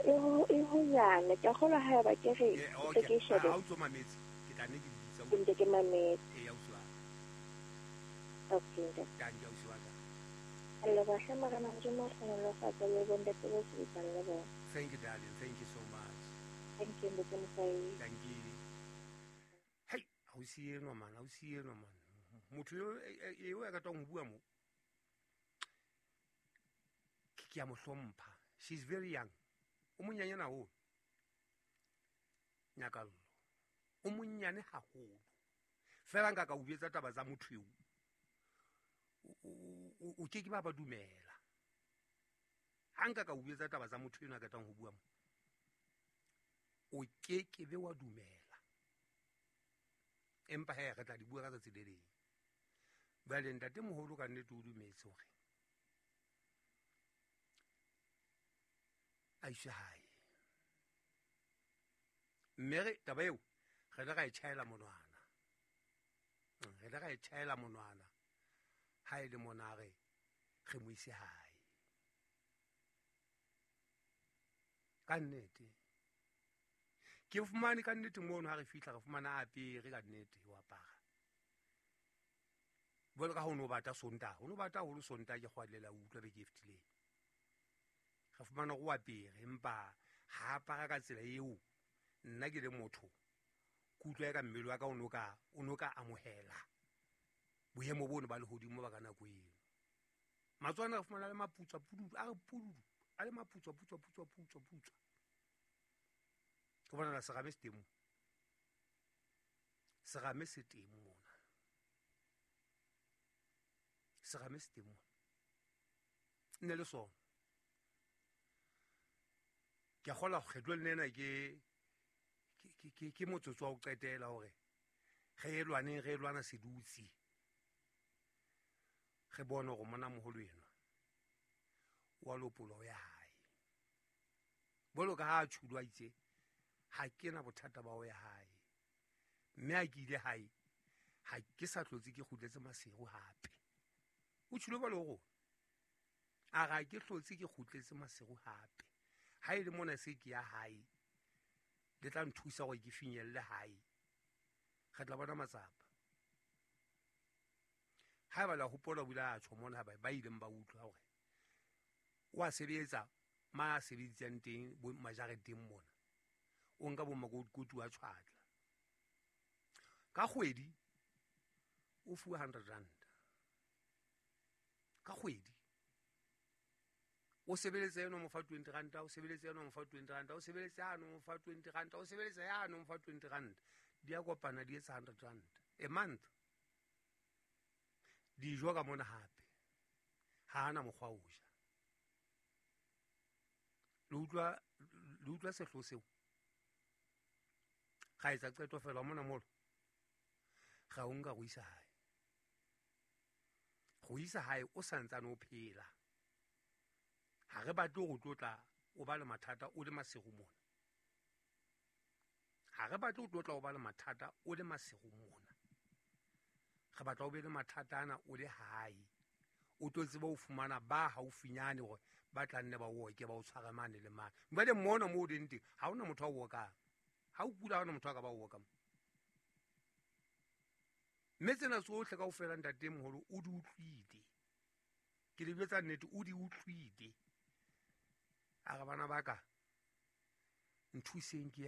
E honyane. Ke a kgolwa haeba ke re Yeah, ntse okay. ke e shebe. Ha o ntso mametse, ke tla nne ke di bitsa. Ke ntse ke mametse. Eya, ausi wa ka. Okay, ntate. Tanki, ausi wa ka. Ke a leboha hle Morena Modimo o hlohonolofatse le bontate bo sebetsang le bona. Thank you, darling. Thank you so much. Thank you, Ntate Mosai. Thank you. Hei, ausi enwa man, ausi enwa man. Motho eo ya ratang ho bua mo. Ke a mo hlompha. She's very young. O monyanyana haholo. Nyakallo. O monyane haholo. Fela nka ka o jwetsa taba tsa motho eo. O ke ke ba dumela. Ha nka ka o jwetsa taba tsa motho eno a ratang ho bua mo. O ke ke be wa dumela. Empa he re tla di bua ka tsatsi le leng. Jwale ntate moholo ka nnete o dumetse hore a iswe hae. Mme re taba eo re ile ra e tjhaela monwana. Re ile ra e tjhaela monwana ha e le mona re re mo ise hae. Ka nnete ke fumane ka nnete mono ha re fihla re fumana a apere ka nnete o apara. Jwalo ka ha o no bata Sontaha, o no bata haholo Sontaha ke kgwalela utlwa beke e fetileng. Re fumana hore o apere empa ha apara ka tsela eo nna ke le motho ke utlwa eka mmele wa ka o no ka amohela boemo bono ba lehodimo ba ka nako eno. Matswana re fumana le maputswa pududu, a re pududu, a le maputswa putswa putswa putswa putswa. Ke bona serame se teng mo. Serame se teng mona. Serame se teng mona. Nne le sona. Ke a kgolwa kgetlo le nena ke motsotso wa ho qetela hore re e lwaneng, re e lwana sedutse. Re bone hore mona moholo enwa wa lopolo ya hae. Bolo ka ha a tjhulwa itse ha ke na bothata ba ho ya hae. Mme ha ke ile hae ha ke sa hlotse ke kgutletse Maseru hape. O tjhulwe ba le ho rona. A re ha ke hlotse ke kgutletse Maseru hape. Ha e le mona se ke ya hae, le tla nthusa hore ke finyelle hae. Re tla bona matsapa. Haeba la hopola o ile a tjho mona ba ileng ba utlwa hore o a sebetsa ma a sebeditsang teng bo majareteng mona. O nka bo makotikotu wa tshwatla. Ka kgwedi o fuwa 100 rand. Ka kgwedi o sebeletse eno mo fa 20 rand, o sebeletse eno mo fa 20 rand, o sebeletse ano mo fa 20 rand, o sebeletse yano mo fa 20 rand. Di a kopana di etsa 100 rand a month. Dijo ka mona hape ha ana mokgwa o ja. Le utlwa sehloho seo. Ga etsa qeto fela mona molo. Ga o nka go isa hae. Go isa hae o santsane o phela. Ha re batle ho tlotla o ba le mathata o le Maseru mona. Ha re batle ho tlotla o ba le mathata o le Maseru mona. Re batla o be le mathata ana o le hae. O tlo tseba ho fumana ba haufinyane hore ba tla nne ba o oke ba o tshware mane le mane. Jwale mona moo o leng teng ha hona motho a o okang. Ha o kula ha hona motho a ka ba o okang. Mme tsena tsohle kaofela ntate moholo o di utlwile. Ke le jwetsa nnete o di utlwile. A re bana ba ka nthuseng ke